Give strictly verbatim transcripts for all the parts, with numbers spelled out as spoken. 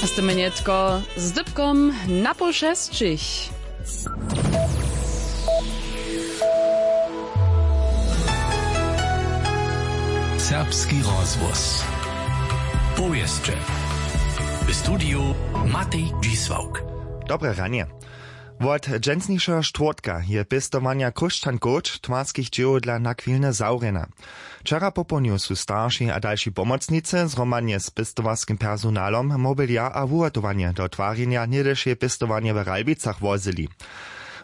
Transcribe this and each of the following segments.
Sty mjenjetko z dypkom na poł šesćich. Serbski rozhłos. Powěsće. W studiju Matej Dźisławk. Dobre ranje. Wot dźensnišeho štwórtka je pěstowanja chróšćan coach twarskich dźěłow dla nachwilnje zawrjena. Wčera popołdnju su starši a dalši pomocnicy zhromadnje z pěstowarskim personalom, mobiliar a wuhotowanje do twarjenja něhdyšeje pěstowarnje w Ralbicach wozyli.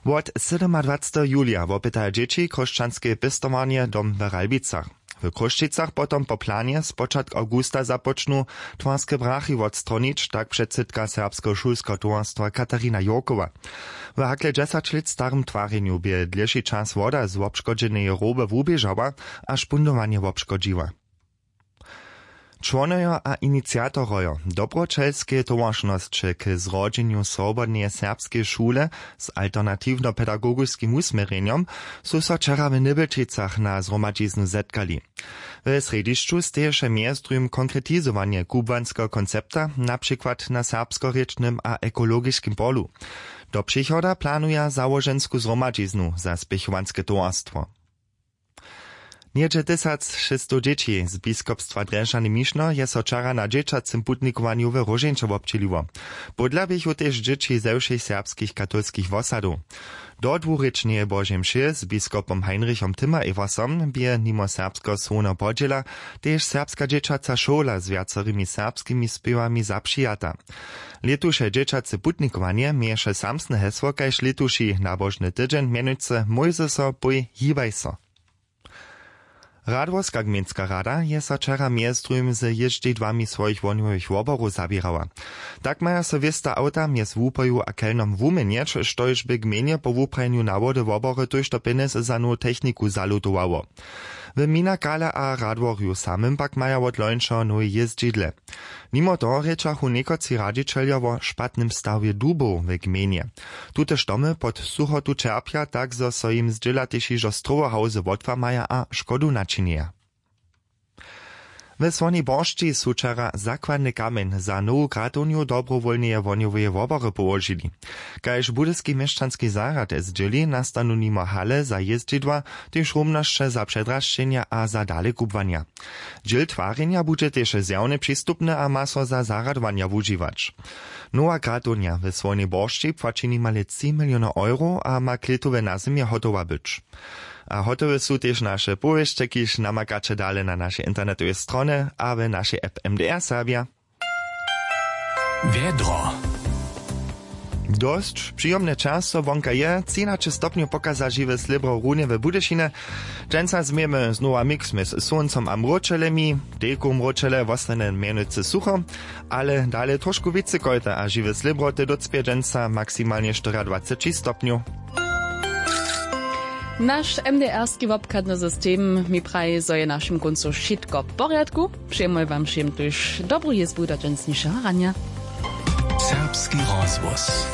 Wot sydomadwaceteho julija wopytaja dźěći chróšćanskeje pěstowarnje dom w Ralbicach. W Chrósćicach potom po planje spočatk awgusta započnu twarske brachy wotstronić, tak předsydka serbskeho šulskeho towarstwa Katarina Jurkowa. W hakle dźesać lět starym twarjenju bě dlěši čas woda z wobškodźeneje roby wuběžała a špundowanje wobškodźiła. Čłonojo a iniciatorojo dobroćelskeje towaršnosće k zrodźenju swobodneje serbskeje šule z alternatiwno-pedagogiskim wusměrjenjom su so wčera w Nybjelčicach na zhromadźiznu zetkali. W srjedźišću steješe mjez druhim konkretizowanje kubłanskeho koncepta, na přikład na serbskorěčnym a ekologiskim polu. Do přichoda planuja załožensku zhromadźiznu za spěchowanske towarstwo. Něhdźe tysac šěsćstow dźěći z biskopstwa Drježdźany Mišno je so wčera na dźěćacym putnikowanju w Róžeńće wobdźěliło. Pódla běchu tež dźěći ze wšěch serbskich katolskich wosadow. Do dwurěčneje Božej mše z biskopom Heinrichom Timmer-Eversom bě nimo serbskeho słowneho podźěla tež serbska dźěćaca šołla z wjacorymi serbskimi spěwami zapřijata. Lětuše dźěćace putnikowanje měješe samsne hesło kaž lětuši nabožny tydźeń, mjenujcy Mójzeso, pój, hibaj so. Radworska gmejnska rada je so wčera mjez druhim z jězdźidłami swojich wohnjowych woborow zaběrała. Tak maja so wěsta awta mjez Wupoju a Kelnom wuměnjeć, štož by gmejnje po wuprajenju na wody wobory tójšto pjenjez za nowu techniku zalutowało. W Minakale a Radworju samym pak maja wot lońšeho nowe jězdźidle. Nimo toho rěčachu někotři radźićeljo wo špatnym stawje dubow w gmejnje. Tute štomy pod suchotu ćerpja, tak zo so jim zdźěla tež hižo strowohałzy wotłamaja a škodu načinjeja. W Słonej Boršći su wčera zakładny kamjeń za nowu gratownju dobrowólneje wohnjoweje wobory połožili. Kaž budyski měšćanski zarjad zdźěli, nastanu nimo hale za jězdźidła tež rumnosće za předrašćenja a za dalekubłanja. Dźěl twarjenja budźe tež zjawnje přistupny a ma so za zarjadowanja wužiwać. Nowa gratownja w Słownej Boršći płaći nimale tři miliony euro a ma klětowe nazymje hotowa być. A hotowe su tež naše powěsće, kiž namakaće dale na našej internetowej stronje a w našej app M D R Serbja. Wjedro. Dosć přijomne časo wonka je, třinaće stopnjow pokaza žiwe slěbro runje w Budyšinje. Dźensa změjemy znowa mix mjez słóncom a mróčelemi. Dejku mróčele wostanje mjenujcy sucho, ale dale trošku wěcy kojta a žiwe slěbro te docpě dźensa maksimalnje štyriadwaceći stopnjow. Naš M D R-ski wobchadny system mi praji, zo je w našim kóncu wšitko w porjadku. Přejemy wam wšěm tuž dobru jězbu do dźensnišeho ranja. Serbski rozhłos.